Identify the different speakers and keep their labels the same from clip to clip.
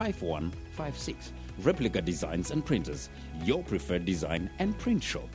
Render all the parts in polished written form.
Speaker 1: 5156. Replica Designs and Printers, your preferred design and print shop.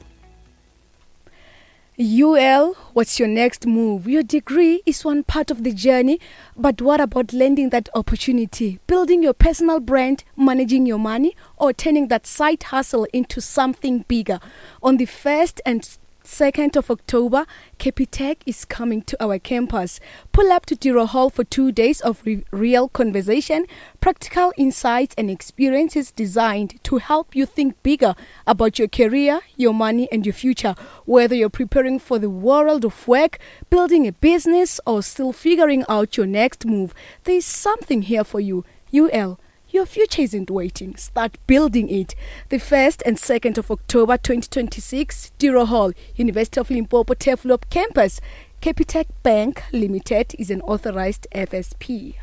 Speaker 2: UL, what's your next move? Your degree is one part of the journey, but what about landing that opportunity, building your personal brand, managing your money, or turning that side hustle into something bigger? On the 1st and 2nd of October, Capitec is coming to our campus. Pull up to Tiro Hall for two days of re- real conversation, practical insights, and experiences designed to help you think bigger about your career, your money, and your future. Whether you're preparing for the world of work, building a business, or still figuring out your next move, there's something here for you. UL your future isn't waiting. Start building it. The 1st and 2nd of October 2026, Diro Hall, University of Limpopo Turfloop Campus. Capitec Bank Limited is an authorized FSP.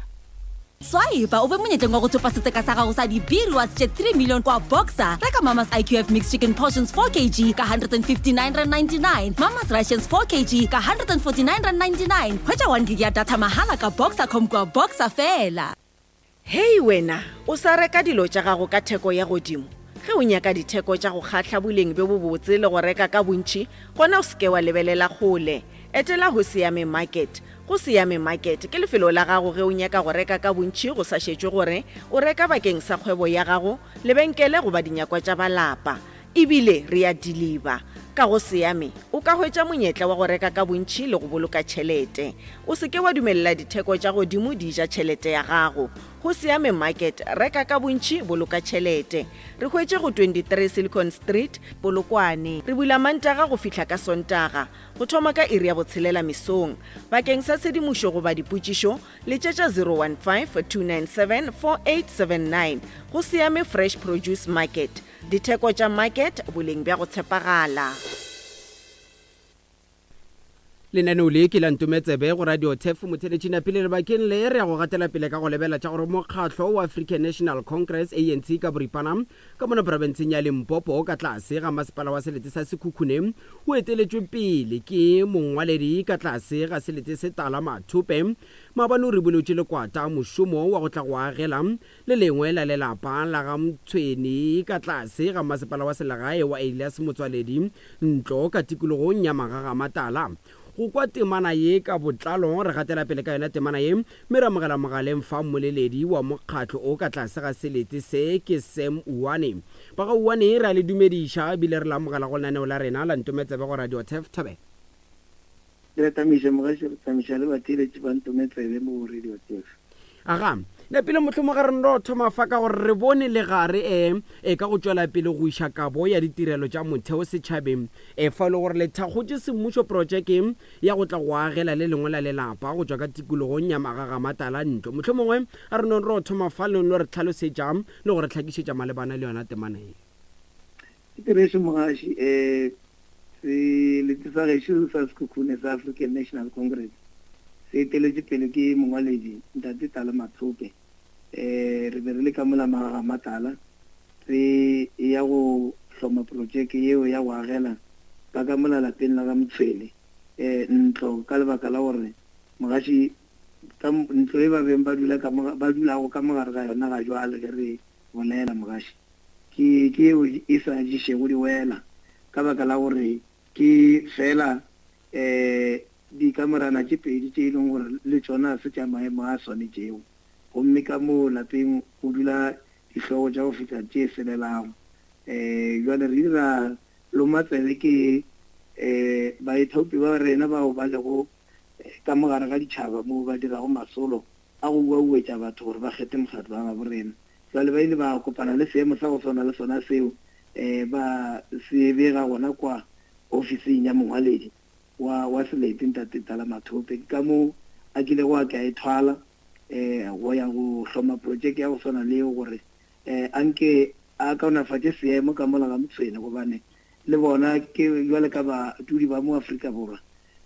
Speaker 3: Swipe o be monyetleng wa go thopa setseka sa gago sa di-b rewards tše 3 million kwa boxer reka mamas iqf mixed chicken portions 4 kg ka 159.99 mamas russians 4 kg ka 149.99 hwetša 1 gig ya data mahala ka boxer com kwa boxer fela
Speaker 4: Hei wena, o sa reka dilo tša gago ka theko ya godimo? Ge o nyaka ditheko tša go kgahla boleng bjo bobotse le go reka ka bontši, gona o se ke wa lebelela kgole. Etela Hoseyame Market. Hoseyame Market ke lefelo la gago ge o nyaka go reka ka bontši go sa šetšwe gore o reka bakeng sa kgwebo ya gago, lebenkele goba dinyakwa tša ba lapa. E bile re a diliba. Ka go Seame, o ka hwetša monyetla wa go reka ka bontši le go boloka tšhelete. O se ke wa dumelela ditheko tša godimo di ja tšhelete ya gago. Go Seame Market, reka ka bontši, boloka tšhelete. Re hwetše go 23 Silicon Street, Polokwane. Re bula Mantaga go fihla ka Sontaga, go thoma ka iri ya botshelela mesong. Bakeng sa tshedimošo goba dipotšišo, letšetša 015 297 4879. Go Seame Fresh Produce Market. Ditheko tša market, boleng bja go tshepagala.
Speaker 5: Lenaneo le ke la Ntometsebe go Radio Turf Motheletši Napile Lebakeng le re ya go gatela pele ka go lebela tša gore mokgatlo wa African National Congress, ANC, ka boripana ka mona profenseng ya Limpopo ka tlase ga masepala wa selete sa Sekhukhune o eteletšwe pele ke mongwaledi ka tlase ga selete se Tala Mathope maabane o ribolotše lekwata mošomo wa go tla go agela Le lengwe la lelapa la ga Mtshweni ka tlase ga masepala wa selegae wa Elias Motswaledi Ntlo ka tikologong ya Magagamatala. Go kwa temana ye ka botlalo, re gatela pele ka yona temana ye mme re amogela mogaleng fa mmoleledi wa mokgatlo o ka tlase ga selete se ke Sam Uwane. Ba ga Uwane re a le dumediša ebile re le amogela go lenaneo la rena la Ntometsebe go Radio Turf Thobela.
Speaker 6: Re a tamiša mogaši, re tamiša le batheeletši ba Ntome Tsebe mo go Radio Turf.
Speaker 5: Aga, nepile mohlomong ga re no thoma fa ka gore re bone legare e, e ka go tšwela pele go iša kabo ya ditirelo tša motheo setšhabeng e fa e le gore le thakgotše semmušo protšeke ya go tla go agela le lengwe la lelapa go tšwa ka tikologong ya Magagamatala ntlo. Mohlomongwe a re nong ro thoma fa le no re hlalosetša le go re hlakišetša malebana le yona temana ye.
Speaker 6: Ke therešo mogaši, um selete sa gešo sa Sekhukhune sa African National Congress se eteletšwe pele ke mongwaledi Ntate Tala Mathope. Um re be re le ka mola Magagamatala re eya go hloma projeke yeo ya go agela ba ka mola lapeng la ga Motshwele um ntlo ka lebaka la gore mogaši ka ntlo e ba beng ba dula ka mo ba dulago ka mo gare ga yona ga jwale ge re bolela mogaši Ke, ke yeo e sa ješego diwela, ka baka la gore ke feela um dikamorana tše pedi tše e leng gore le tšona ga se tša maemo a swanetšego. Gomme ka moo lapeng go dula dihlogo tša go fihla tše selelago. Um bjale re ile ra loma tsebe ke um baithaopi ba rena bao ba lego ka mo gare ga ditšhaba moo ba dirago masolo a go uauetša batho gore ba kgethe mokgatlo wa gabo rena. Bjale ba ile ba kopana le seemo sa go swana le sona seo, ba se bega gona kwa ofising ya mongwaledi wa, wa selete, Ntate Tala Mathope. Ke ka moo a kilego a ke a e thwala, go ya go hloma protšeke ya go swana le yeo gore, a nke a kaonafatše seemo ka mola ga Motshwene, gobane le bona ke bjale ka badudi ba mo Afrika Borwa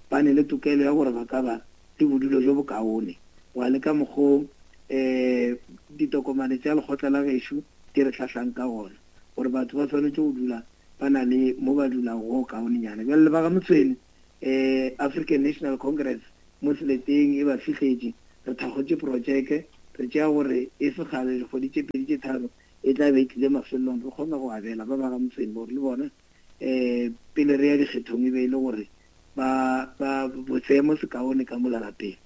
Speaker 6: ba ne le tokelo ya gore ba ka ba le bodulo bjo bokaone go ya le ka mokgo um ditokomane tša lekgotla la gešo di re hlahlang ka gona, gore batho ba swanetše go dula ba na le mo ba dulago go kaonenyana. Bjale le ba ga Motshweni, um African National Congress mo seleteng e ba fihletše, re thakgotše protšeke. Re tšea gore e se kgale, dikgwedi tše pedi tše tharo, e tla be e tlile mafelelong, re kgone go abela ba ba ga Motshweni gore le bona um pele re ya dikgethong e be e le gore ba, ba, seemo se kaone ka mola lapeng.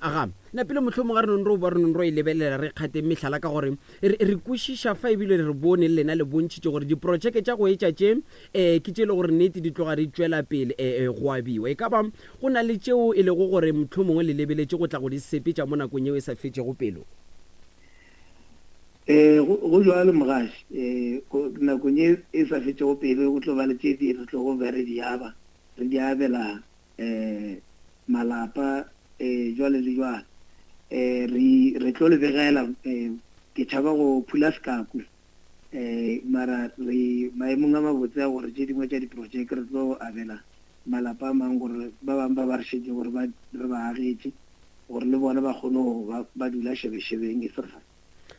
Speaker 5: Aga, napile mohlomong ga re nong ro ba re nong ro e lebelela re kgateng mehlala ka gore re, re kwešiša fa ebile re bone le lena le bontšhitše gore diprotšeke tša go etša tše um ke tše e le gore nnete di tloga di tšwela pele um go abiwa. E ka ba go na le tšeo e lego gore mohlomongwe le lebeletše go tla go di sepetša mo nakong yeo e sa fetšego pelo?
Speaker 6: Ee, go, go bjalo, mogaši. Ee, go, nakong ye e sa fetšego pelo go tlo ba le tše di re tlogo be re di aba, re di abela um malapa, um jwale le jwale. Um re, re tlo le begela, um ke tšhaba go phula sekaku, um mara re maemong a mabotse a gore tše dingwe tša diprojeke re tlo abela malapa a mang gore ba bangwe ba ba re šetšego re ba, re ba agetše gore le bona ba kgone go ba ba dula šebešebeng e se kgale.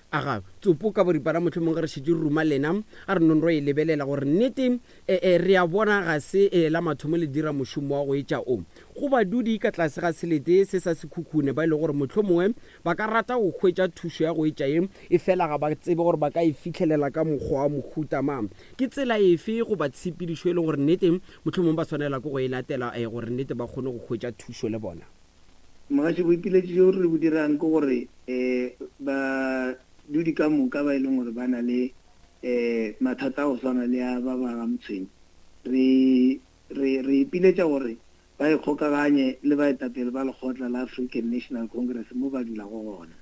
Speaker 5: Aga, tsopo ka boripana mohlomong ge re šetše re ruma lena, a re nong ro e lebelela gore nnete e, e, re a bona ga se e, la mathomo le dira mošomo wa go etša o. Go badudi ka tlase ga selete se sa Sekhukhune ba e lego gore mohlomongwe ba ka rata go hwetša thušo ya go etša ye, efela ga ba tsebe gore ba ka e fihlelela ka mokgwa wa mohuta mang. Ke tsela efe goba tshepedišo e lego gore nnete mohlomongwe ba swanela ke go e latela e, gore nnete ba kgone go hwetša thušo le bona?
Speaker 6: Mogaši, boipiletšo bjo re bo dirang ke gore badudi ka moka ba e leng gore ba na le mathata a go swana le a ba ba ga Motshweni, re, re, re ipiletša gore ba ikgokaganye le baetapele ba lekgotla la African National Congress mo ba dulago gona.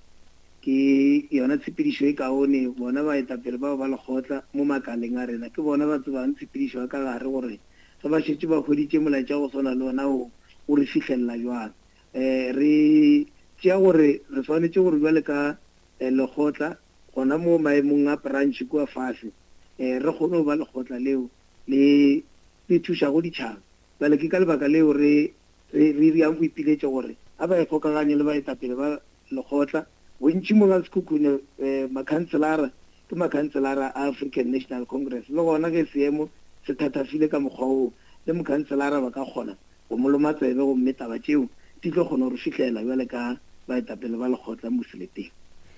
Speaker 6: Ke yona tshepedišo e kaone, bona baetapele bao ba lekgotla mo makaleng a rena ke bona ba tsebang tshepedišo ya ka gare gore Ge ba šetše ba hweditše molaetša wa go swana le wona wo, o re fihlelela bjang? Re tšea gore re swanetše gore bjale ka lekgotla, gona mo maemong a branch kua fase, re kgone go ba lekgotla leo le le thušago ditšhaba. Bjale ke ka lebaka leo re re re dirang boipiletšo gore a ba ikgokaganye le baetapele ba lekgotla. Bontši mo ga Sekhukhune makhanselara ke makhanselara a African National Congress, le gona ge seemo se thathafile ka mokgwa woo, le mokhanselara ba ka kgona go mo loma tsebe gomme taba tšeo di tlo kgona go re fihlela bjale ka baetapele ba lekgotla mo seleteng.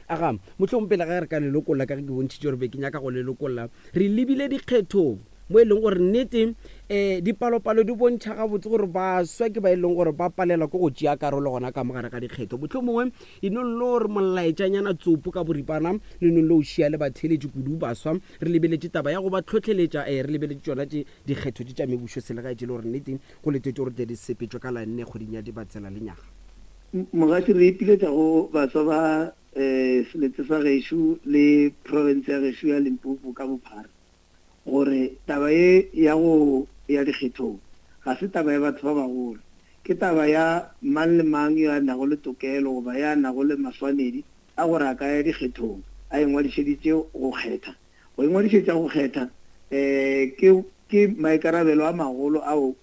Speaker 5: Aga, mohlomong pele ga re ka le lokolla, ka ge ke bontšhitše gore be ke nyaka go le lokolla, re lebile dikgethong mo e leng gore nnete um dipalopalo di bontšha gabotse gore baswa ke ba e leng gore ba palelwa ke go tšea karolo gona ka mogare ga dikgetho. Mohlomongwe Lenong lo re molaetšanyana tsopo ka boripana, lenong lo o šia le batheeletši kudu baswa. Re lebeletše taba ya go ba hlohleletša, ee, re lebeletše tšona tše dikgetho tše tša mebušo selegae tše le gore nnete go letetšwe gore tle di sepetšwe ka la nne kgweding ya Dibatsela lenyaga.
Speaker 6: Mogaši, re ipiletša go baswa ba selete sa gešo le profense ya gešo ya Limpopo ka bophara gore taba ye ya go ya dikgethong ga se taba ya batho ba bagolo, ke taba ya mang le mang yo a nago le tokelo goba ya nago le maswanedi a gore a ka ya dikgethong a ingwadišeditše go kgetha. Go ingwadišetša go kgetha ke ke maikarabelo a magolo ao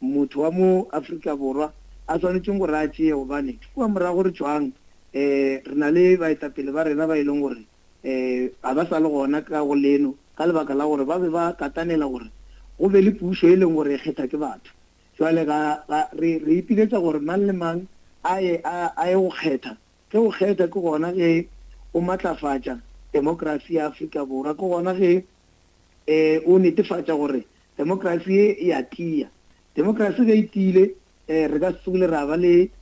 Speaker 6: motho wa mo Afrika Borwa a swanetšeng gore a tšee gobane kua morago re tšwang re na le baetapele ba rena ba e leng gore Ga ba sa le gona ka go leno ka lebaka la gore ba be ba katanela gore go be le pušo e leng gore e kgetha ke batho. Jwale ga, ga, re, re ipiletša gore mang le mang a ye, a, a ye go kgetha. Ge o kgetha ke gona ge o matlafatša demokrasi ya Afrika Borwa, ke gona ge o netefatša gore demokrasi ye e a tia. Demokrasi ge e tiile, re ka se tsogile ra ba le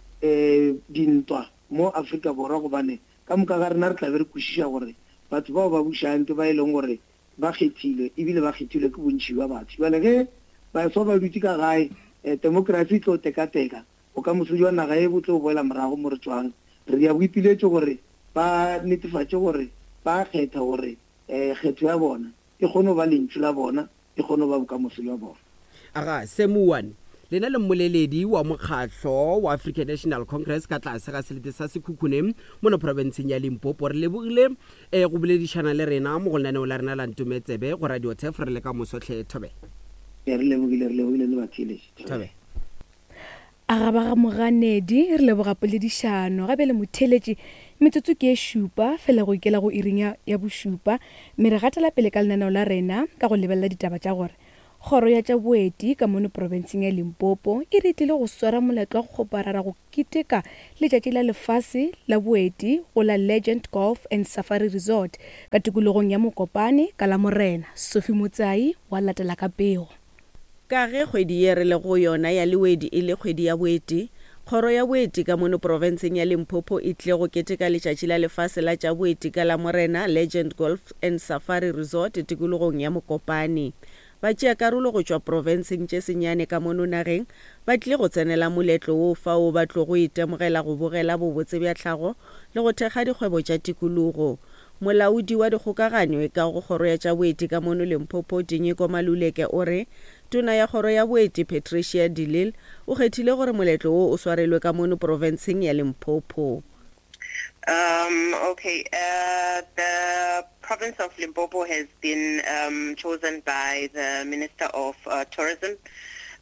Speaker 6: dintwa mo Afrika Borwa gobane Ka moka ga rena re tla be re kwešiša gore batho bao ba bušang ke ba e leng gore ba kgethilwe e bile ba kgethilwe ke bontši bja batho. Bjale ge baswa ba dutše ka gae, temokrasi e tlo tekateka, bokamoso bja naga ye bo tlo boela morago mo re tšwang. Re dira boipiletšo gore ba netefatše gore ba kgetha gore kgetho ya bona e kgone go ba lentšu la bona, e kgone go ba bokamoso bja bona.
Speaker 5: Aga, Semuan, lena le mmoleledi wa mokgahlo wa African National Congress ka tlase ga selete sa Sekhukhune mono profenseng ya Limpopo. Re lebogile eh, go boledišana le rena mo go lenaneo la rena la Ntome Tsebe go Radio Turf. Re le ka moso hle, Thobela.
Speaker 6: Re lebogile, re lebogile le batheeletši.
Speaker 5: Thobela.
Speaker 2: A ga ba ga Moganedi, re leboga poledišano. Ga bjale motheeletši, metsotso ke ye šupa fela go ikela go iring ya, ya bošupa, mme re gatela pele ka lenaneo la rena ka go lebelela ditaba tša gore. Kgoro ya tša Boeti ka mono profenseng ya Limpopo e re tlile go swara moletlo wa go kgoparara go keteka Letšatši la Lefase la Boeti go la Legend Golf and Safari Resort ka tikologong ya Mokopane ka Lamorena. Sophie Motsai wa latela ka pego.
Speaker 4: Ka ge kgwedi ye re lego go yona ya Lewedi e le kgwedi ya boeti, Kgoro ya Boeti ka mono profenseng ya Limpopo e tlile go keteka Letšatši la Lefase la tša Boeti ka Lamorena Legend Golf and Safari Resort tikologong ya Mokopane. Batšeakarolo go tšwa profenseng tše senyane ka mono nageng ba tlile go tsenela moletlo wo fao ba tlogo itemogela go bogela bobotse bja tlhago le go thekga dikgwebo tša tikologo. Molaodi wa dikgokaganyo e ka go Kgoro ya tša Boeti ka mono Limpopo, Tinyiko Maluleke o re Tona ya Kgoro ya Boeti, Patricia de Lille o kgethile gore moletlo wo o swarelwe ka mono profenseng ya Limpopo.
Speaker 7: Um, okay, uh, the province of Limpopo has been um, chosen by the Minister of uh, Tourism,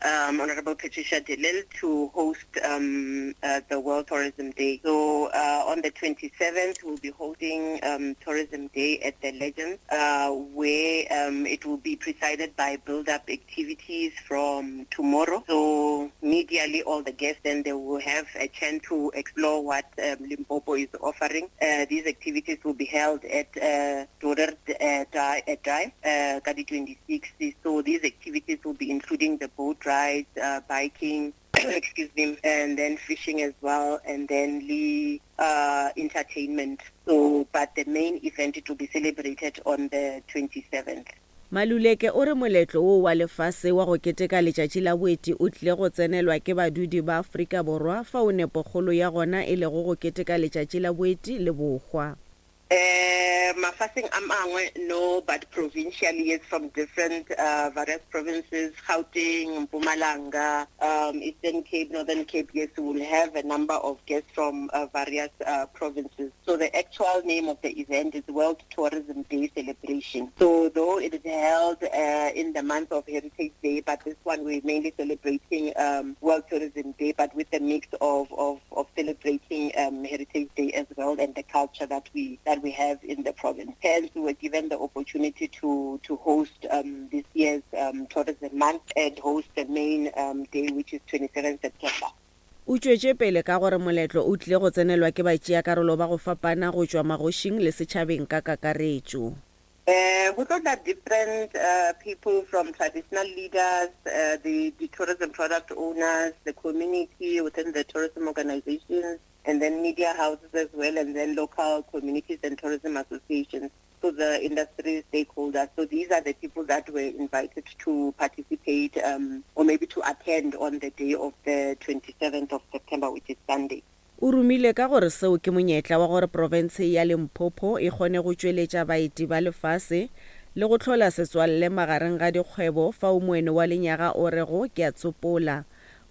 Speaker 7: um, Honorable Patricia de Lille, to host um, uh, the World Tourism Day. So uh, on the 27th, we'll be holding um, Tourism Day at the Legends, uh, where um, it will be presided by build-up activities from tomorrow. So immediately all the guests then they will have a chance to explore what um, Limpopo is offering. Uh, these activities will be held at uh, Dodder uh, Drive, uh, 26. So these activities will be including the boat rides, uh, biking, excuse me, and then fishing as well, and then the uh, entertainment. So, but the main event, it will be celebrated on the 27th.
Speaker 4: Maluleke o re moletlo wo wa lefase wa go keteka letšatši la boeti o tlile go tsenelwa ke badudi ba Afrika Borwa fao nepokgolo ya gona e lego go keteka letšatši la boeti le bohwa.
Speaker 7: Eh, mafaseng a mangwe no, but provincially yes, from different uh, various provinces, Gauteng, Mpumalanga, um, Eastern Cape, Northern Cape, yes, we will have a number of guests from uh, various uh, provinces. So the actual name of the event is World Tourism Day Celebration. So though it is held uh, in the month of Heritage Day, but this one we're mainly celebrating um, World Tourism Day, but with a mix of, of, of celebrating um, Heritage Day as well and the culture that we that we have in the province. Hence, we were given the opportunity to, to host um, this year's um, Tourism Month and host the main um, day, which is 27 September.
Speaker 4: O tšwetše pele ka gore moletlo o tlile go tsenelwa ke batšeakarolo ba go fapana go tšwa magošing le setšhabeng ka kakaretšo.
Speaker 7: Uh, we got that different uh, people from traditional leaders, uh, the, the tourism product owners, the community within the tourism organizations, and then media houses as well, and then local communities and tourism associations. So the industry stakeholders. So these are the people that were invited to participate um, or maybe to attend on the day of the 27th of September, which is Sunday.
Speaker 4: O rumile ka gore seo ke monyetla wa gore profense ya Limpopo e kgone go tšweletša baeti ba lefase le go hlola setswalle magareng ga dikgwebo fao moeno wa lenyaga o rego ke a tsopola,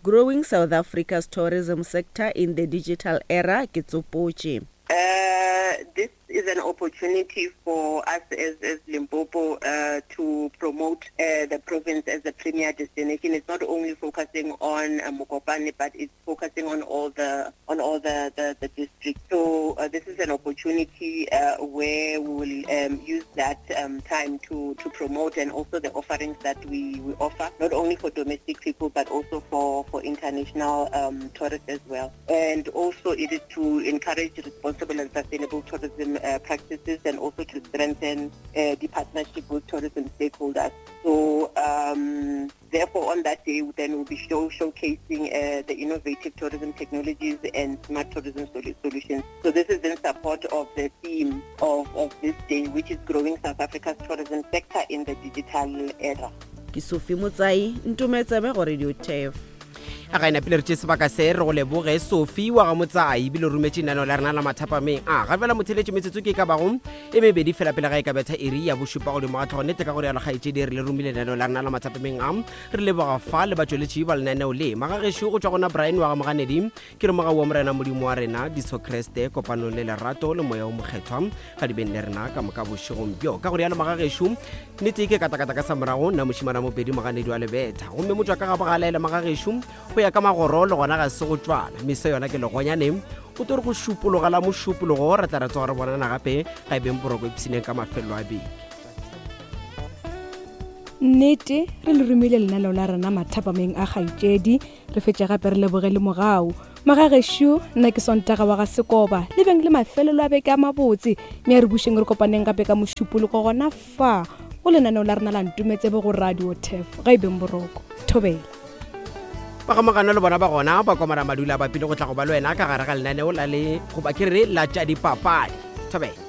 Speaker 4: Growing South Africa's Tourism Sector in the Digital Era ke tsopotše.
Speaker 7: Uh, this is an opportunity for us as, as Limpopo uh, to promote uh, the province as a premier destination. It's not only focusing on uh, Mokopane, but it's focusing on all the on all the, the, the districts. So uh, this is an opportunity uh, where we will um, use that um, time to, to promote and also the offerings that we, we offer, not only for domestic people, but also for, for international um, tourists as well. And also it is to encourage responsible and sustainable tourism uh, practices and also to strengthen uh, the partnership with tourism stakeholders. So um, therefore on that day then we'll be show, showcasing uh, the innovative tourism technologies and smart tourism solutions. So this is in support of the theme of, of this day, which is growing South Africa's tourism sector in the digital era.
Speaker 4: Ke Sophie Motsai, Ntometsebe go Radio Turf.
Speaker 5: A ga e napile re tše sebaka se re go leboge Sophie wa ga Motsai ebile o rometše lenaneo la rena la mathapameng a ga bjala motheletše metsotso ke e ka bago e mebedi fela pele ga e ka betha iri ya bošupa godimo ga tlhogo nnete ka go rialo kgaetšedi re le romile lenaneo la rena la mathapameng a re leboga fa le batšweletši ba lenaneo le magagešo go tšwa gona Brian wa ga Moganedi Ke re mogau wa Morena Modimo wa rena, Jesu Kriste, kopanong le lerato le Moya o Mokgethwa, ga di beng le rena ka moka bošegong bjo. Ka go rialo magagešo, nnete ke katakata ka sa morago, nna mošimana mopedi moganedi wa lebetha. Gomme motšwa ka ga bogalaela magagešo, go ya ka magoro le gona ga se go tšwana. Meso yona ke legonyane, o tlo re go šupologa la mošupologo, re tla re tsoga re bonana gape, ga e beng boroko ipshineng ka mafelelo a beke.
Speaker 2: Nnete, re le romile lenaneo la rena mathapameng a kgaetšedi, re fetše gape re leboge le mogau. Magagešo, nna ke Sontaga wa ga Sekoba, le beng le mafelelo a beke a mabotse, mme a re bušeng re kopaneng gape ka Mošupologo gona fa go lenaneo la rena la Ntometsebe go Radio Turf. Ga e beng boroko. Thobela.
Speaker 5: Ba ga Mogano le bona ba gona ba komana madula ba pele go tla go ba le wena ka gare ga lenaneo la le goba ke re la tša dipapadi. Thobela.